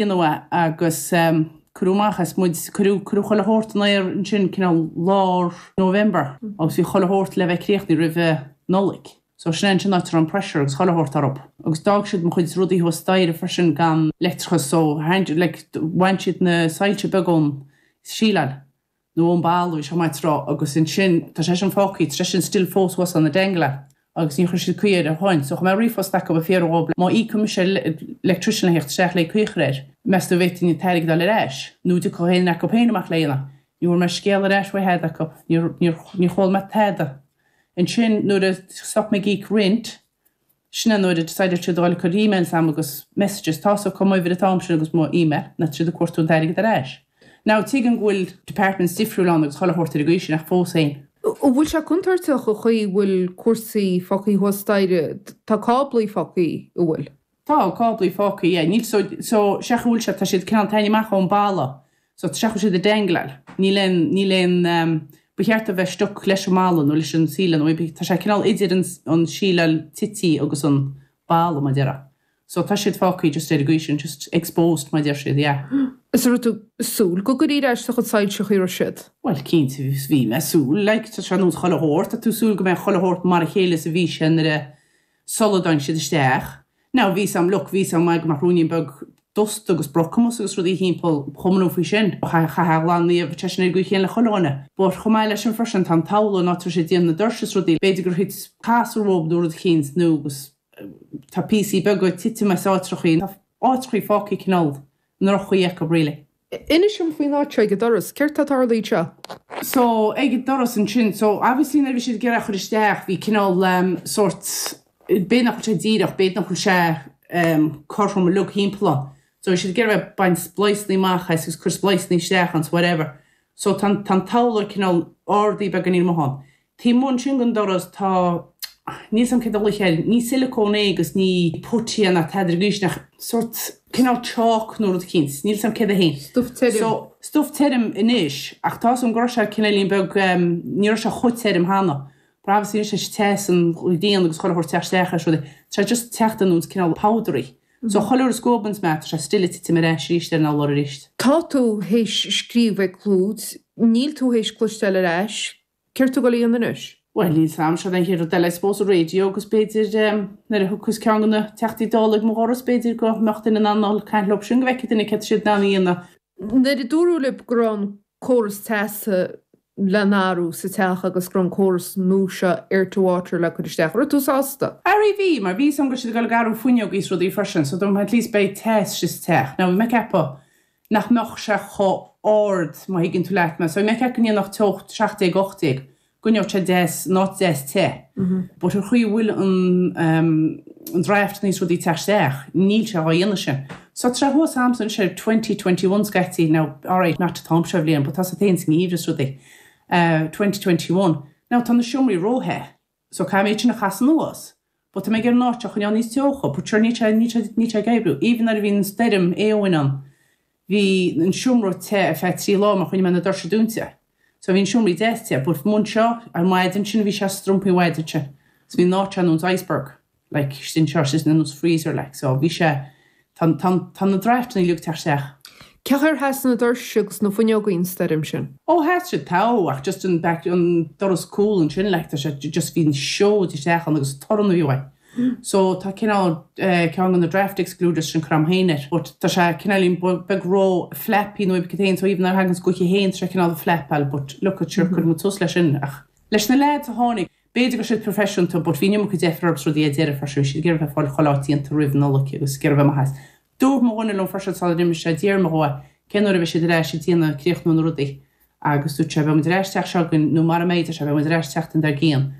Déanamh é agus cuireadh amach as muid, cuireadh, cuireadh chuile shórt in aer ansin cineál lár November agus bhí chuile shórt le bheith críochnaithe roimhe Nollaig. So sin é ansin áit a raibh an pressure agus chuile shórt orthub. Agus d'fhág siad mo chuid rudaí thuas staighre freisin gan leictreachas so like bhain siad na soilse beaga ón síleáil. nó ón balla, bhí sé maith tráth, agus ansin, tá sé sin fágtha, tá sé sin still fós thuas ann ag dangling, agus níor chuir siad caoi air ó shoin, so chuir mé ríomhphost acu ag fiafraí dhób má íocfaidh mise electrician le theacht isteach le caoi a chur air, meas tú an bhféadfainn an t-airgead a fháil ar ais, nó an dtiocfadh éinne acu féin amach le dhéanamh. Ní bhfuair mé scéal ar ais uaidh tada acu, níor, níor, níor chuala mé tada. Ansin nuair a stop mé ag íoc rent, Sin é nuair a decided siad a dhul ag cur emails a'm agus messages, tá's acu m'uimhir an t-am sin agus mo email, now tá siad ag cuartú an t-airgead ar ais. Now tuigim go bhfuil departments difriúil ann agus chuile shórt ar an gcaoi sin ach fós féin. An bhfuil sé contúirteach an chaoi a bhfuil cúrsaí fágtha thuas staighre? Tá cáblaí fágtha, an bhfuil? Tá cáblaí fágtha, yeah. Níl, so, so, sé chaoi a bhfuil sé, tá siad cineál taitneamh amach ón balla. So tá sé chaoi a bhfuil siad ag dangleáil. Níl aon, níl aon, ba cheart a bheith stuck leis an mballa nó leis an síleáil nó tá sé cineál idir an, an síleáil tití agus an balla mar a déarfá. So tá siad fágtha just ar an gcaoi sin, just exposed mar a deir siad, yeah. Is an raibh tú ag súil go gcuirfí ar ais do chuid soilse an chaoi a raibh siad? Bhuel cinnte bhí mé ag súil, like tá sé ar nós chuile shórt, tá tú ag súil go mbeidh chuile shórt mar a chéile is a bhí sé nuair a, sula dtáinig siad isteach. Now, bhí 's a'm, look, bhí 's a'm go mbeadh ruainnín beag dusta agus brocamais agus rudaí thimpeall, ba chuma liom faoi sin. Chaithfeá a ghlanadh, bheadh sé sin ar an gcaoi chéanna le chuile dhuine. But chomh maith leis sin freisin, tá an t-urlár an áit a raibh siad ag déanamh na doirse is rudaí, b'fhéidir gur thit casúr uathu nó rud eicínt nó agus tá píosaí beaga ag titim as áitreachaí, tá áitreachaí fágtha cineál i ndroch-chaoi acu really. Inis dom faoin áit seo ag an doras. Céard tá tarlaithe anseo? So, ag an doras ansin, so obviously nuair a bhí siad ag iarraidh a chur isteach, bhí cineál em sórt, b'fhéidir nach bhfuil sé díreach, b'fhéidir nach bhfuil sé em cothrom uilig thimpeall ann. So bhí siad ag iarraidh bheith ag baint spliceanna amach as agus cur spliceanna isteach ann, so whatever. So tá an, tá an t-urlár cineál ardaithe beagáinín amuigh ann. Taobh amuigh ansin den doras tá, níl 's a'm céard a ghlaofaí air, ní silicone é agus ní putty é ná tada ar an gcaoi sin ach sórt cineál chalk nó rud eicínt, níl 's a'm céard é féin. Stuif tirim. So, stuif tirim anois ach tá 's a'm go raibh sé cineáilín beag, ní raibh sé chomh tirim cheana. But obviously anois leis an teas an ghrian agus chuile shórt teacht isteach air is rudaí, tá sé just teacht ar nós cineál powdery. So chuile uair a scuabanns mé tá sé still ag titim ar ais arís ar an urlár arís. Tá tú théis scríobh ag Clúid, níl tú théis cloisteáil ar ais, Céard tá tú ag goil a dhéanamh anois? Bhuel, níl 's a'm, seo an chéad rud eile I suppose, an radio agus b'fhéidir nuair a thiocfas ceann de na Teachtaí Dála ag mo dhoras b'fhéidir go mbeadh duine in ann dul caint leo sin go bhfeicfidh duine céard tá siad in ann a dhéanamh. Nuair a dúradh libh go raibh an córas teasa le n-athrú sa teach agus go raibh an córas nua seo air to water le cur isteach, an raibh tú sásta? Arú bhí, mar bhí 'fhios a'm go raibh siad ag dul ag athrú fuinneogaí is rudaí freisin so dúirt mé at least beidh teas sa teach. Now bhí mé ag ceapadh nach mbeadh sé chomh ard, má thuigeann tú leat mé. So bhí mé ag ceapadh go ndéanfadh teocht 17, 18, go mbeadh sé deas, an áit deas te. But an chaoi a bhfuil an an draft is rudaí ag teacht isteach, níl sé á dhéanamh sin. So tá sé thuas a'msa anois ar 2021 scaití, now alright, not an t-am seo bhliain, but tá sé féin sa ngeimhreadh is rudaí, 2021. Now tá na seomraí ró-the. So caithfidh mé iad sin a chasadh anuas. But tá mé ag iarraidh an áit a choinneáil níos teocha. But sure níl sé, níl sé, níl sé ag oibriú. Even nuair a bhí an stoirm Éowyn ann, bhí an seomra te ar feadh 3 lá mar choinnigh mé na doirse dúnta. So bhí an seomraí deas te. But amuigh anseo, ar maidin sin bhí sé strompaí an mhaidin sin. So bhí an áit seo ar nós iceberg. Like, istigh anseo, istigh ar nós freezer like. So bhí sé, tá, tá, tá na draftanna uilig ag teacht isteach. Cén chaoi ar sheas na doirse agus na fuinneogaí an stoirm sin? Ó sheas siad togha ach just an back, an doras cúl ansin like tá sé just bhí an seoid isteach ann agus torann a bhí uaidh. So tá cineál eh ceann de na draft excluders sin curtha a'm féin air but tá sé cineáilín beag ró flappy nó cad féin so even nuair a thagann gaoth féin tá sé cineál flapáil but look at sure cuirfidh muid suas leis sin ach leis na lads a tháinig B'fhéidir go raibh siad proifisiúnta but bhí an iomarca deifir orthu is rudaí ar deireadh freisin, bhí siad ag iarraidh bheith ag fáil chuile áit déanta roimh an Nollaig agus ag iarraidh bheith maith as. Dúirt mo dhuine liom freisin sula d'imigh sé, d'fhiafraigh mé dhó cén uair a bheidh siad ar ais ag déanamh, críochnú na rudaí agus dúirt sé beidh muid ar ais teach seo againn nó mara mbeidh, deir sé, beidh muid ar ais tseachtain dár gcionn.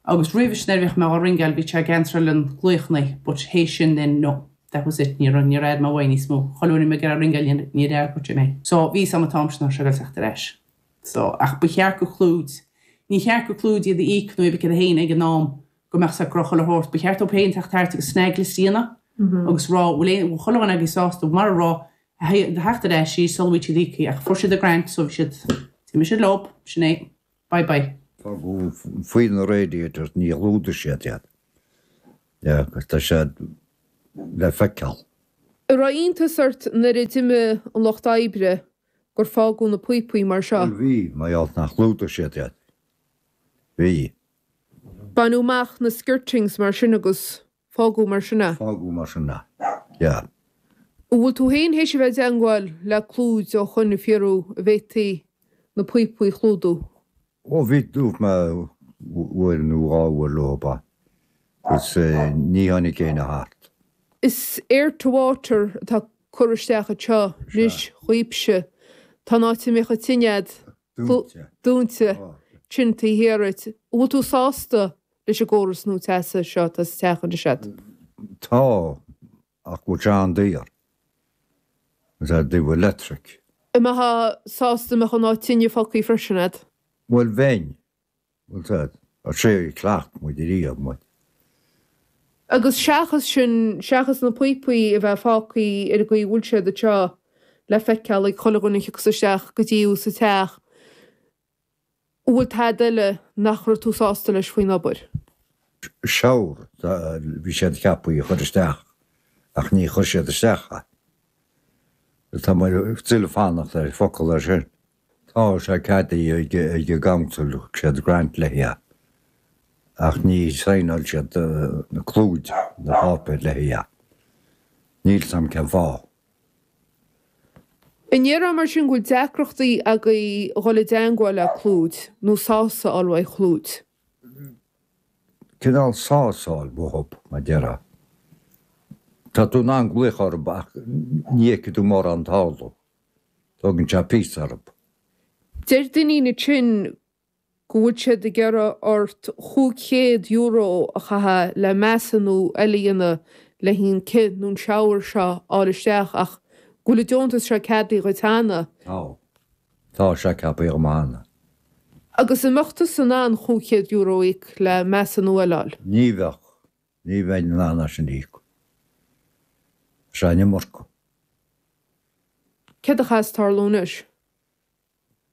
Agus roimhe sin nuair a bhíodh mé á ringeáil bhí sé ag answeráil an glaochanna but théis sin then no, that was it, níor níor fhaigh mé uaidh níos mó. Chuile uair a bhí mé ag iarraidh ringeáil níor níor fhreagair sé mé. So bhí 'fhios a'm an t-am sin nach raibh sé ag dul teacht ar ais. So, ach ba cheart go Clúid, ní cheart go Clúid iad a íoc nó iad a féin ag an am go mbeadh sé go raibh chuile shórt, ba cheart dóibh féin teacht thart agus snag list a dhéanamh agus rá bhfuil aon, bhfuil chuile dhuine agaibh sásta mar a raibh a theacht ar ais í sula bhfuil siad íoctha ach fuair siad a grant so bhí siad, d'imigh siad leo, sin é, bye bye. Fágadh faoi na radiators, ní chlúdaigh siad iad. Yeah, agus tá siad le feiceáil. An raibh iontas ort nuair a d'imigh an lucht oibre gur fágadh na píopaí mar seo? Bhuel bhí, mar gheall nach chlúdaigh siad iad. Bhí. Baineadh amach na skirtings mar sin agus fágadh mar sin é. Fágadh mar sin é, yeah. An bhfuil tú féin théis a bheith i dteangmháil le Clúid ó shoin ag fiafraí an bhféadfaí na píopaí a chlúdú? Ó bhí, dúirt mé uair nó dhá uair leo agus ní tháinig éinne thart. Is air to water atá curtha isteach anseo anois dhaoibhse. Tá an áit a mbíodh an tine a'd dúinte tinn taobh thiar dhuit. An bhfuil tú sásta leis an gcóras nua teasa seo atá sa teach anois a'd? Tá, ach bhfuil sé an-daor. Is é dtaobh electric. An mbeifeá sásta dá mbeadh an áit tine fágtha freisin a'd? Bhuel bheinn. Bhfuil a fhios a'd, ar sé a chleacht muid ariamh muid. Agus seachas sin, seachas na píopaí a bheith fágtha ar an gcaoi a bhfuil siad anseo le feiceáil ag chuile dhuine a thiocfas isteach go dtí thú sa teach, an bhfuil tada eile nach raibh tú sásta leis faoin obair? Shower, bhí siad ceaptha a chur isteach ach ní chuir siad isteach é. Tá mé still ag fanacht ar focal air sin. Tá sé ceadaithe ag an gcouncil, thug siad grant le é ach ní signáil siad na clúid, na páipéir le é. Níl 's a'm cén fáth. An ndéarfá mar sin go bhfuil deacrachtaí agaibh a dhul i dteangmháil le Clúid nó sásamh a fháil uaidh Chlúid? Cineál sásamh a fháil uathub, mar déarfá. Tá tú in ann glaoch orthu ach ní fheicfidh tú mórán tarlú. Tógann sé píosa orthu. Deir Dineen ansin go bhfuil siad ag iarraidh ort €500 a chaitheamh le measúnú eile a dhéanamh le haghaidh an cith nó an shower seo a fháil isteach ach go bhfuil an deontas seo ceadaithe dhuit cheana. Tá. Tá sé ceaptha agam cheana. Agus an mbeadh tusa in ann €500 a íoc le measúnú eile a fháil? Ní bheadh. Ní bheinn in ann é sin a íoc. Tá sé an iomarca. Céard a chaithfeas tarlú anois?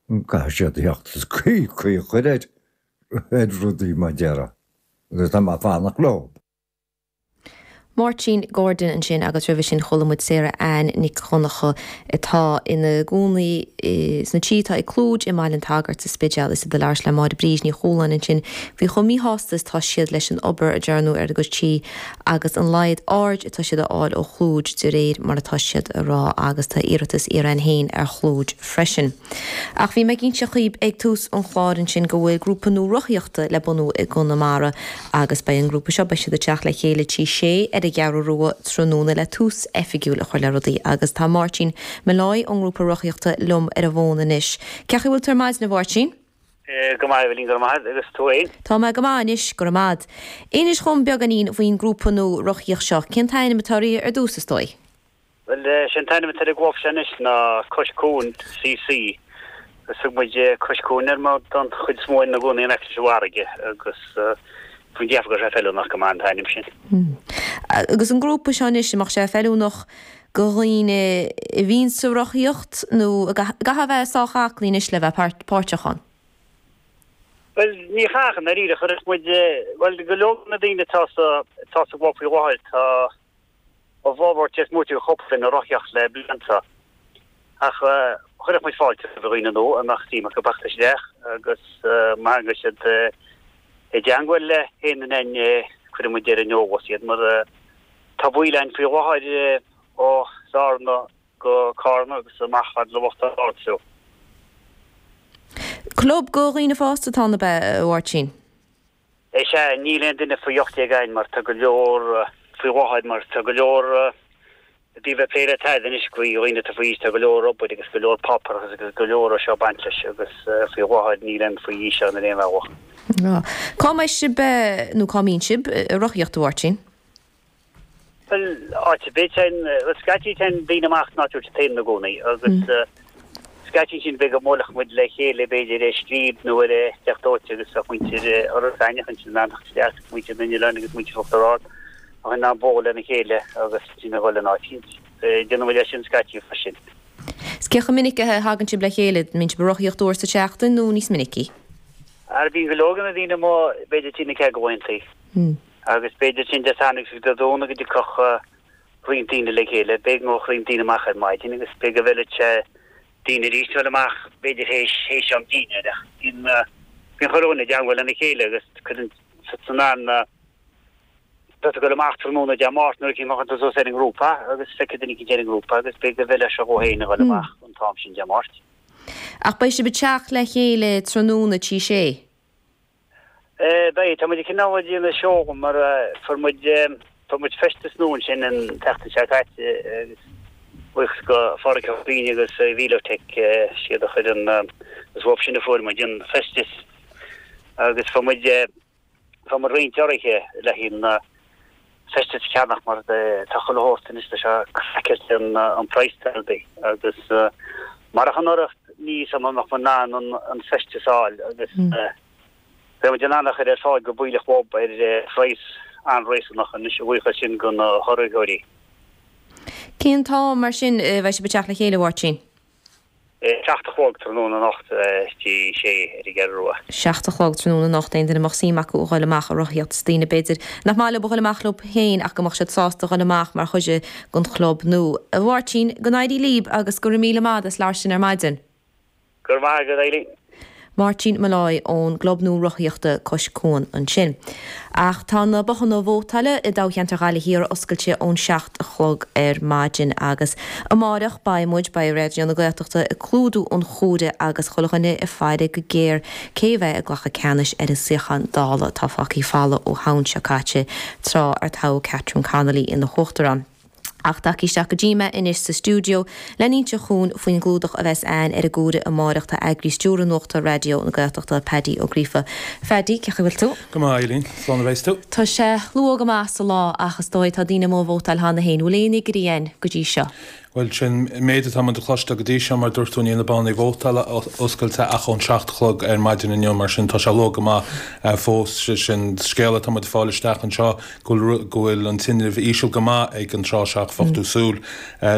Caithfidh siad a theacht is caoi a chur ar rudaí mar déarfá agus tá mé ag fanacht leo. Máirtín Gordon ansin agus roimhe sin chuala muid Sarah Ann Nic Dhonncha atá ina gcónaí sna tithe atá ag Clúid i mBaile an tSagairt sa Spidéal. Is iad ag labhairt le Máire Bríd Ní Chualáin ansin faoi chomh míshásta is atá siad leis an obair a dearnadh ar a gcuid tí agus an laghad aird atá siad a fháil ó Chlúid de réir mar atá siad a rá agus tá iarratas iarrtha again féin ar Chlúid freisin. Ach bhí mé ag inse dhaoib ag tús an chláir ansin go bhfuil grúpa nua rothaíochta le bunú i gConamara agus beidh an grúpa seo, beidh siad ag teacht le chéile Tigh Sé ar an gCeathrú Rua tráthnóna le tús oifigiúil a chur le rudaí agus tá Máirtín Molloy ón ngrúpa rothaíochta liom ar an bhfón anois. Cén chaoi a bhfuil tú ar maidin a Mháirtín? Go maith, a Eibhlín, go raibh maith agat, agus tú fhéin? Tá mé go maith anois, go raibh maith agat. Inis dhom beagáinín faoin ngrúpa nua rothaíocht seo. Cén t-ainm atá air ar dtús, is dóigh? Bhuel, sé an t-ainm atá ar an gclub seo anois ná Cois Cuain CC. Agus thug muid Cois Cuain air mar tá an chuid is mó againn ina gcónaí in aice leis an bhfarraige agus bhí muid ag ceapadh go raibh sé feiliúnach go maith an t-ainm sin. Agus an grúpa seo anois, an mbeadh sé feiliúnach do dhaoine a bhíonn sa rothaíocht nó an gcaithfeá a bheith sách aclaí anois le bheith páirteach ann? Bhuel, ní chaithfeadh, i ndáiríre. Chuirfeadh muid, bhuel, go leor de na daoine atá sa, atá sa gclub faoi láthair, tá a bhformhór tar éis múinteoir cúpla ina rothaíocht le blianta. Ach chuirfeadh muid fáilte roimh dhaoine nua a mbeadh suim acu teacht isteach agus má thagann siad i dteangmháil le haon duine againn, cuirfidh muid ar an eolas iad mar Tá baill ann faoi láthair ó Bhearna go Carna agus amach fhad le Uachtar Ard fiú. Club do dhaoine fásta atá ann ab ea, a Mháirtín? Is ea, níl aon duine faoi 18 ann mar tá go leor faoi láthair mar tá go leor i dtaobh bheith ag plé le tada anois faoi dhaoine atá faoi aois, tá go leor obair agus go leor páipéarachas agus go leor ó seo ag baint leis agus faoi láthair níl aon faoi aois ann ar aon bhealach. Cá mbeidh sibh, nó cá mbíonn sibh, ag rothaíocht, a Mháirtín? Bhuel, áit ar bith, téann, bhuel, scaití téann daoine amach san áit a bhfuil siad féin ina gcónaí agus scaití ansin b'fhéidir go mbuailfeadh muid le chéile b'fhéidir ar scríb nó ar theach dóite agus bheadh muintir Iorras Aithneach ansin in ann teacht isteach agus muintir na nOileán agus muintir Uachtar Ard bheadh in ann bualadh lena chéile agus ansin a dhul in áit eicínt. Déanann muid é sin scaití freisin. Is cé chomh minic a thagann sibh le chéile? An mbíonn sibh ag rothaíocht uair sa tseachtain nó níos minicí? Ara bíonn go leor de na daoine amuigh b'fhéidir trí nó ceathair de laethantaí. Agus b'fhéidir sin Dé Sathairn agus Dé Domhnaigh go dtiocfadh. roinnt daoine le chéile, b'fhéidir go ngabhfadh roinnt daoine amach ar maidin agus b'fhéidir go bhfeilfeadh sé daoine arís dul amach b'fhéidir théis théis am dinnéir ach bíonn bíonn chuile dhuine i dteangmháil lena chéile agus cuireann siad san an tá tú ag dul amach tráthnóna Dé Máirt nuair a chífeadh tú suas ar an ngrúpa agus feicfidh duine eicínt ar an ngrúpa agus b'fhéidir go bhfeilfeadh sé dhó féin a dhul amach an t-am sin Dé Máirt. Ach beidh sibh ag teacht le chéile tráthnóna tí sé? Beidh, tá muid cineál ag déanamh seó mar fuair muid, fuair muid feisteas nua ansin an tseachtain seo caite agus buíochas go Phádraig Ó Cuinn agus Velotech, siad a chuir an, is uathu sin a fuair muid an feisteas agus fuair muid, fuair muid roinnt urraithe le haghaidh an feisteas a cheannach mar tá chuile shórt anois, tá sé craiceáilte an praghas ar bith agus marach an urraíocht ní fios an mbeadh muid in ann an feisteas a fháil agus beidh muid in ann a chur ar fáil go baoilleach bob ar phraghas an-réasúnach anois a bhuíochas sin do na hurraitheoirí. Cén t-am mar sin a bheidh sibh ag teacht le chéile, a Mháirtín? 7 a chlog tráthnóna anocht tí sé ar an gCeathrú Rua. 7 a chlog tráthnóna anocht, aon duine a mbeadh suim acu a dhul amach a rothaíocht is daoine b'fhéidir nach maith leo a dhul amach leo féin ach go mbeadh siad sásta a dhul amach mar chuid den chlub nua. A Mháirtín, go n-éirí líb agus go raibh míle maith as labhairt linn ar maidin. Go raibh maith agat, Eileen. Máirtín Molloy ón gClub nua Rothaíochta Cois Cuan ansin. Ach tá na bothanna vótála i dtoghcheantar Ghaillimh Thiar oscailte ón 7 a chlog ar maidin agus amáireach beidh muid, beidh Raidió na Gaeltachta ag clúdú an chomhairimh agus chuile dhuine ag faire go géar cé a bheidh ag glacadh ceannais ar an suíochán Dála atá fágtha folamh ó Shamhain seo caite tráth ar toghadh Catherine Connolly ina huachtarán. Ach tagtha isteach go dtí mé anois sa stiúideo le n-inse dhúinn faoin gclúdach a bheas a'ainn ar an gcomhaireamh amáireach tá eagraí stiúrtha nuachta Raidió na Gaeltachta, Paddy Ó Gríofa. Phaddy, cén chaoi a bhfuil tú? Go maith, Eileen. Slán a bheas tú. Tá sé luath go maith sa lá ach is dóigh tá daoine amuigh ag vótáil cheana féin. Bhfuil aon fhigiúirí a'ainn go dtí seo? Bhuel, sin méid atá muid a chloisteáil go dtí seo, mar dúirt tú, níl na bothanna vótála oscailte ach ón 7 a chlog ar maidin inniu, mar sin tá sé luath go maith fós. Sé sin scéal atá muid ag fáil isteach anseo, go bhfuil go bhfuil an tinreamh íseal go maith ag an tráth seo ach bheadh tú súil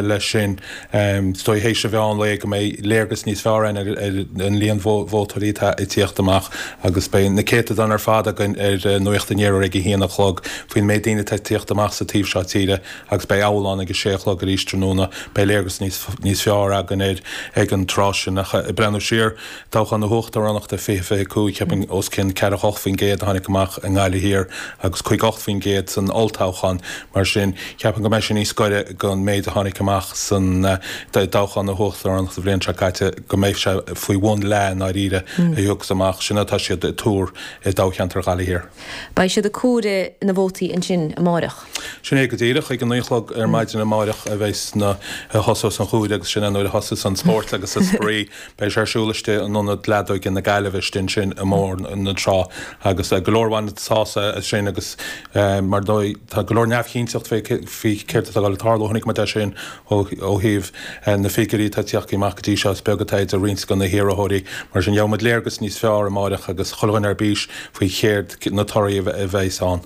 leis sin. Is dóigh théis an mheán lae go mbeidh léargas níos fearr againn ar an líon vótóirí atá ag tíocht amach agus beidh na céatadáin ar fad againn ar Nuacht an Iarthair ag a haon a chlog faoin méid daoine atá ag tíocht amach sa taobh seo tíre. Agus beidh abhallán ag a sé a chlog arís tráthnóna. Beidh léargas níos níos fearr againn air ag an tráth sin. Ach ag breathnú siar, toghchán na huachtaránachta 2025, cheapfainn os cionn 48% a tháinig amach i nGaillimh Thiar agus 58% san olltoghchán. Mar sin, cheapfainn go mbeidh sé níos gaire don méid a tháinig amach san dtoghchán na huachtaránachta an bhliain seo caite, go mbeidh sé faoi bhun leath i ndáiríre a thiocfas amach. Sin atá siad ag tuar i dtoghcheantar Ghaillimh Thiar. Beidh siad ag comhaireamh na vótaí ansin amáireach. Sin é go díreach. Ag a naoi a chlog ar maidin amáireach a bheas na, a thosós an chomhaireamh agus sin é nuair a thosós an spórt agus an spraoi. Beidh sé ar siúl istigh in Ionad Leadóige na Gaillimhe istigh ansin i mBóthar na Trá agus go leor a bhaineann sásamh as sin agus mar dóigh tá go leor neamhchinnteacht fé faoi céard atá ag dul a tarlú. Chonaic muid é sin ó thaobh na figiúirí atá ag tíocht amach go dtí seo is beag atá idir roinnt de na hiarrthóirí. Mar sin gheobhaidh muid léargas níos fearr amáireach agus chuile dhuine ar bís faoi chéard na torthaí a bheas ann.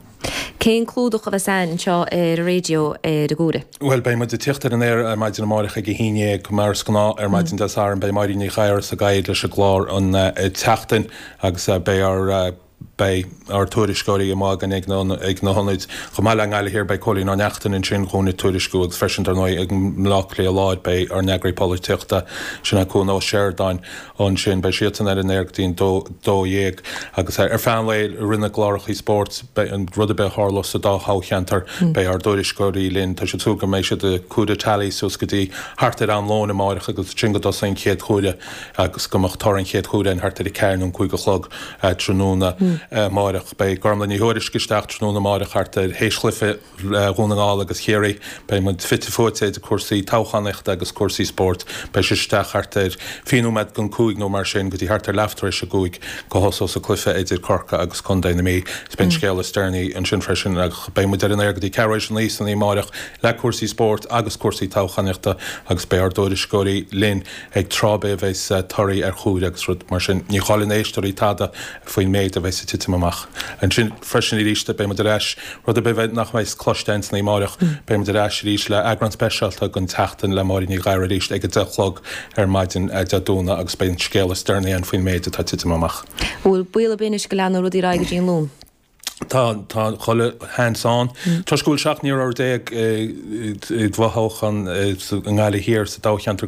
Cén clúdach a bheas a'ainn anseo ar an raidió ar an gcomhaireamh? Bhuel, beidh muid ag tíocht ar an aer ar maidin amáireach ag a haon dhéag, mar is gnáth ar maidin Dé Sathairn. Beidh Máirín Ní Ghadhra sa gcathaoir leis an gclár an tseachtain agus beidh ár beidh ár tuairisceoirí amuigh againn ag na ag na hionaid. Chomh maith le i nGaillimh Thiar beidh Cóilín Ó Neachtain ansin dhúinn ag tuairisciú agus freisin dar ndóigh ag mBleá Cliath Láir beidh ár n-eagraí polaitíochta, sin é Cuan Ó Seireadáin. Ansin beidh siadsan ar an aer go dtí an 12 agus ar feadh an lae i rith na gclárachaí spóirt, beidh an rud ar bith a tharlós sa dá thoghcheantar, beidh ár dtuairisceoirí linn. Tá siad ag súil go mbeidh siad ag comhaireamh tally suas go dtí thart ar am lóin amáireach agus ansin go dtosaíonn an chéad chomhaireamh agus go mbeadh toradh an chéad chomhaireamh ann thart ar a ceathair nó an cúig a chlog tráthnóna amáireach. Beidh Gormlaith Ní Thuairisg isteach tráthnóna amáireach thart ar théis chluiche Dhún na nGall agus Chiarraí. Beidh muid fite fuaite idir cúrsaí toghchánaíochta agus cúrsaí spóirt. Beidh sise isteach thart ar fiche nóiméad don cúig nó mar sin go dtí thart ar leath tar éis a gcúig go thosós an cluiche idir Corcaigh agus Contae na Mí. Is beidh an scéal is deireanaí ansin freisin ach beidh muid ar an aer go dtí ceathrú éis a naoi san oíche amáireach le cúrsaí spóirt agus cúrsaí toghchánaíochta agus beidh ár dtuairisceoirí linn ag tráth ar bith a bheas torthaí ar chomhaireamh agus rud mar sin. Ní chailleann éisteoirí tada faoin méid a bheas ag titim amach ansin freisin arís. Beidh muid ar ais, rud ar bith nach mbeidh cloiste againn san oíche amáireach, beidh muid ar ais arís le eagrán speisialta den tseachtain le Máirín Ní Ghadhra arís ag a deich a chlog ar maidin Dé Domhnaigh agus beidh an scéal is deireanaí ann faoin méid atá ag titim amach. Bhfuil baol ar bith anois go leanfaidh rudaí ar aghaidh go dtí an Luan? Tá, tá chuile sheans ann. Toisc go bhfuil 17 n-iarrthóir i bhfothoghchán i nGaillimh Thiar sa toghcheantar.